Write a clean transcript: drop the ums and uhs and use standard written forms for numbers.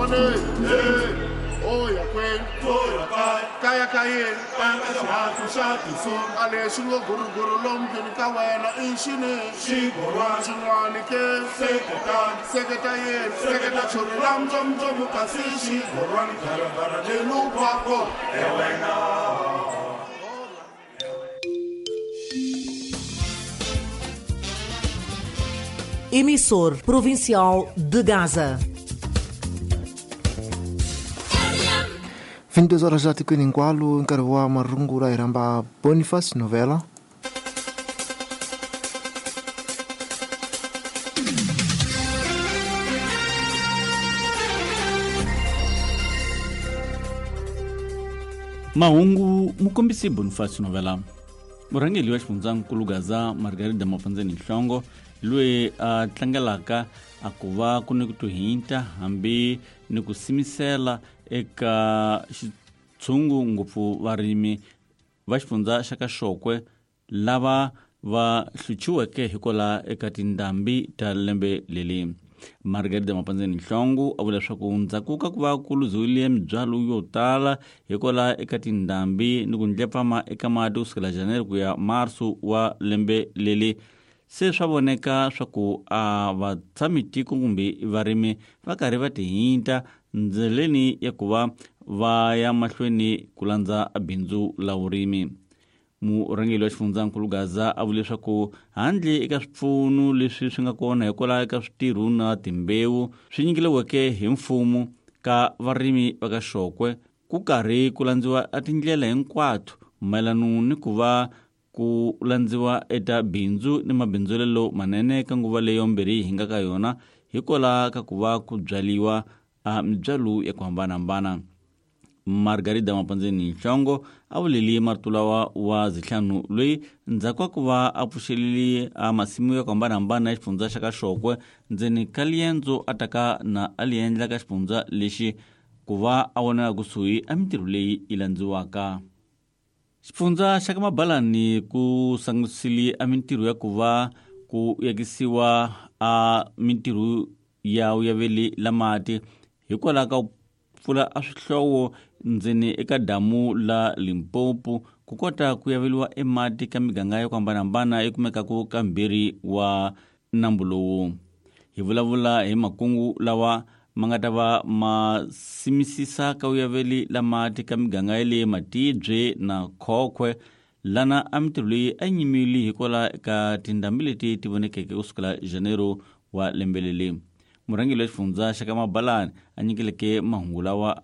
N'wana o ya kwenu kaya ka yena a lexi ngo guruguru lomu ndlwini ka wena i xini xin'wani ke seketa yena seketa chori la mtsomtsomo kasi xigorwani garagara lelukwako Emissor Provincial de Gaza. 22 horas já tikweni hinkwalo nkarhi wa marungula hi rhamba Boniface Novela. Mahungu mukombisi Boniface Novela. Murhangeri wa xifundzankulu Gaza Margarida Mafandzeni Nhlongo loyi a tlangelaka a ku va ku ni ku tuhinta hambi ni ku simisela eka xitshungu ngopfu varimi va xifundza xa ka Xokwe lava va hluchiweke hikwalaho eka tindhambi ta lembe leri. Margarida Mapandzeni Nhlongo a vula leswaku ndzhaku ka ku va ku luziwile mibyalo yo tala hikwalaho eka tindhambi ni ku ndlepfama eka mati kusukela January ku ya Marso wa lembe leri, se swa voneka swa ku a vatshami tiko kumbe varimi va karhi va tihinta ndleleni ya ku va va ya mahlweni ku landza bindzu la vurimi. Murhangeri wa xifundzankulu Gaza a vule leswaku handle eka swipfuno leswi swi nga kona hikwalaho eka switirho na timbewu swi nyikeliweke hi mfumo ka varimi va ka Xokwe, ku karhi ku landziwa a tindlela hinkwato mayelano ni ku va ku landziwa eta bindzu ni mabindzulelo manene ka nguva leyo mbirhi hi nga ka yona hikwalaho ka ku va ku byaliwa a mibyalo ya ku hambanahambana. Margarida Mapandzeni Nhlongo a vuleli marito lawa wa Zihlanu loyi ndzhaku ka ku va a pfuxelele a masimu ya ku hambanahambana ya xifundza xa ka Xokwe ndzeni ka liendzo a taka na a li endla ka xifundza lexi ku va a vonela kusuhi a mintirho leyi yi landziwaka. Xifundza xa ka Mabalani ku sangisile a mintirho ya ku va ku yakisiwa a mintirho ya vuyaveli la mati hikwalaho ka pfula a swihlowo ndzeni eka damu la Limpopo ku kota ku yaveliwa emati ka miganga ya ku hambanahambana yi kumekaka ka mbirhi wa nambu lowu. Hi vulavula hi makungu lawa ma nga ta va ma simisisa ka vuyaveli la mati ka miganga ya le Matibye na Khokwe, lana a mintirho leyi a yi nyimile hikwalaho ka tindhambi leti ti vonekeke kusukela Janeiro wa lembe leri. Murhangeri wa xifundza xa ka Mabalani a nyikeleke mahungu lawa.